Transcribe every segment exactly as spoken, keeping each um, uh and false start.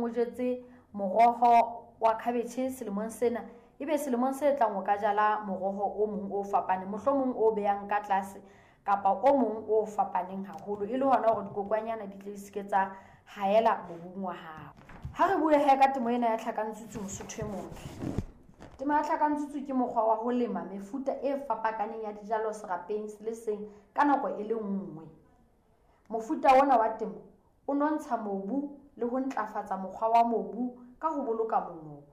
Mohlomong o jetse moroho wa khabetjhe selemong sena, ebe selemong se tlang o ka jala moroho o mong o fapaneng, mohlomong o behang ka tlase kapa o mong o fapaneng haholo, e le hona hore dikokwanyana di tle di seke tsa haela mobung wa hao. Ha re bue he ka temo ena ya tlhakantsutsu, Mosotho e motle. Temo ya tlhakantsutsu ke mokgwa wa ho lema mefuta e fapakaneng ya dijalo serapeng se le seng ka nako e le nngwe. Mofuta ona wa temo o nontsha mobu le ho ntlafatsa mokgwa wa mobu ka ho boloka mongobo.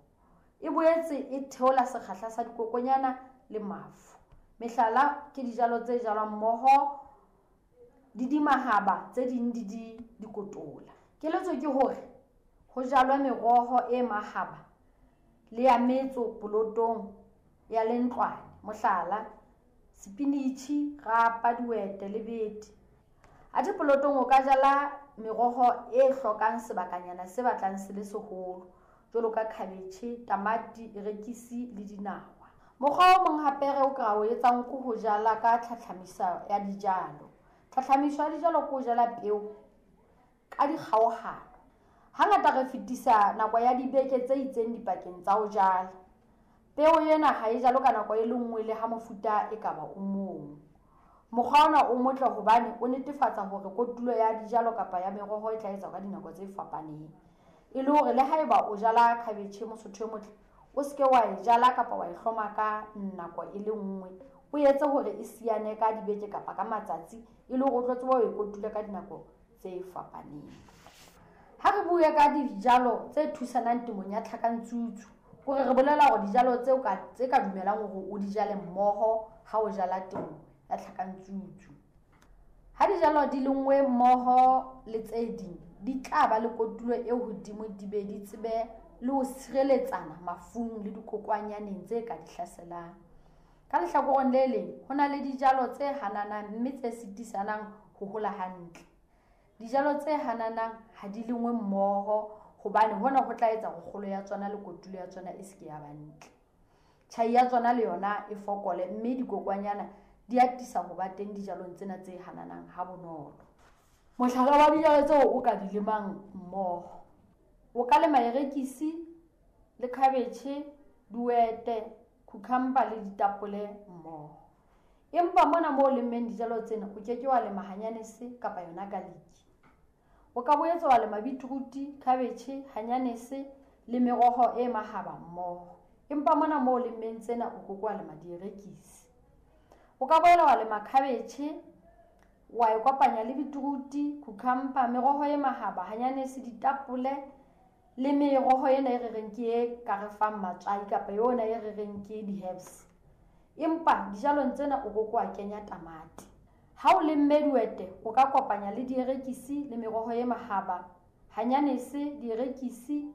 E boetse e theola sekgahla sa dikokonyana le mafu. Mehlala ke dijalo tse jalwang mmoho di di mahaba, tse ding di di dikotola. Keletso ke hore ho jalwe meroho e mahaba le ya metso polotong ya lentlwane. Mohlala, sepinitjhi, rapa, dihwete le bete. Athe polotong o ka jala meroho e hlokang sebakanyana se batlang se le seholo, jwalo ka khabetjhe, tamati, erekisi le dinawa. Mokgwa o mong hape re o ka o etsang ke ho jala ka tlhatlhamiso ya dijalo. Tlhatlhamiso ya dijalo ke ho jala peo ka dikgaohano. Hangata re fetisa nako ya dibeke tse itseng dipakeng tsa ho jala. Peo ena ha e jalwe ka nako e le nngwe le ha mofuta e ka ba o mong. Mokgwa ona o motle hobane o netefatsa hore kotulo ya dijalo kapa ya meroho e tla etswa ka dinako tse fapaneng. E le hore le haeba o jala khabetjhe, Mosotho e motle, o seke wa e jala kapa wa e hloma ka nako e le nngwe. O etse hore e siyane ka dibeke kapa ka matsatsi, e le hore o tlo tseba ho e kotula ka dinako tse fapaneng. Ha re bue ka dijalo tse thusanang temong ya tlhakantsutsu, hore re bolela hore dijalo tseo ka tse ka dumelang hore o di jale mmoho ha o jala temo ya tlhakantsutsu. Ha dijalo di lengwe mmoho le tse ding, di tla ba le kotulo e hodimo, di be di tsebe le ho sireletsana mafung le dikokwanyaneng tse ka di hlaselang. Ka lehlakoreng le leng, ho na le dijalo tse hananang mme tse sitisanang ho hola hantle. Dijalo tse hananang ha di lengwe mmoho hobane hona ho tla etsa hore kgolo ya tsona le kotulo ya tsona e seke ya ba ntle. Tjhai ya tsona le yona e fokole mme dikokwanyana di atisa ho ba teng dijalong tsena tse hananang ha bonolo. Mohlala wa dijalo tseo o ka di lemang mmoho, o ka lema erekisi le khabetjhe, dihwete, cucumber le ditapole mmoho. Empa mona moo o lemmeng dijalo tsena, o keke wa lema hanyanese kapa yona garlic. O ka boetse wa lema beetroot, khabetjhe, hanyanese le meroho e mahaba mmoho. Empa mona moo o lemmeng tsena, o keke wa lema dierekisi. O ka boela wa lema khabetjhe, wa e kopanya le beetroot, cucumber, meroho e mahaba, hanyanese, ditapole le meroho ena e re reng ke e ka re fang matswai kapa yona e re reng ke di-herbs. Empa dijalong tsena o keke wa kenya tamati. Ha o lemme dihwete, o ka kopanya le dierekisi le meroho e mahaba, hanyanese, dierekisi,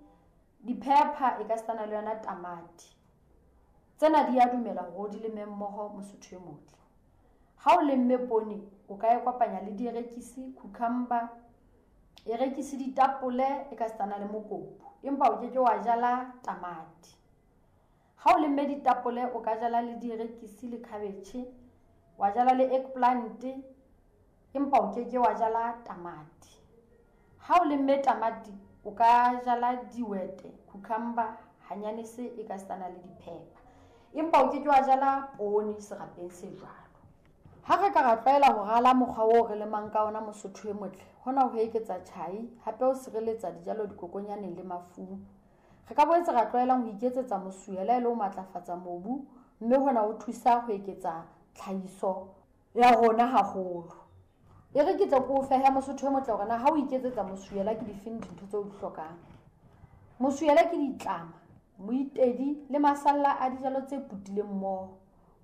di-pepper e ka sitana le yona tamati. Tsena di a dumela hore o di leme mmoho, Mosotho e motle. Ha o lemme poone, o ka e kopanya le dierekisi, cucumber, erekisi, ditapole e ka sitana le mokopu, empa o keke wa jala tamati. Ha o lemme ditapole, o ka jala le dierekisi le khabetjhe, wa jala le eggplant, empa o keke wa jala tamati. Ha o lemme tamati, o ka jala dihwete, cucumber, hanyanese e ka sitana le di-pepper, empa o keke wa jala poone serapeng se jwalo. Ha re ka ra tlwaela ho rala mokgwa oo re lemang ka ona, Mosotho e motle, hona ho eketsa tjhai, hape ho sireletsa dijalo dikokonyaneng le mafung. Re ka boetse ra tlwaelang ho iketsetsa mosuhela e le ho matlafatsa mobu, mme hona ho thusa ho eketsa tlhahiso ya rona haholo. E re ke tle ke o fehe, Mosotho e motle, hore na ha o iketsetsa mosuhela ke difeng dintho tseo o di hlokang. Mosuhela ke ditlama, moitedi le masalla a dijalo tse putileng mmoho.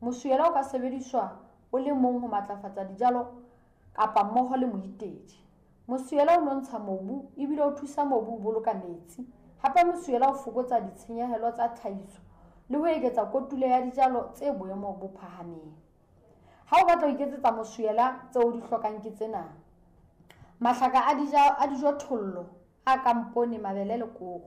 Mosuhela o ka sebediswa o le mong ho matlafatsa dijalo kapa mmoho le moitedi. Mosuhela o nontsha mobu ebile o thusa mobu ho boloka metsi. Hape mosuhela o fokotsa ditshenyehelo tsa tlhahiso le ho eketsa kotulo ya dijalo tse boemo bo phahameng. Ha o batla ho iketsetsa mosuhela, tseo o di hlokang ke tsena: mahlaka a a dijothollo a kang poone, mabele le koro.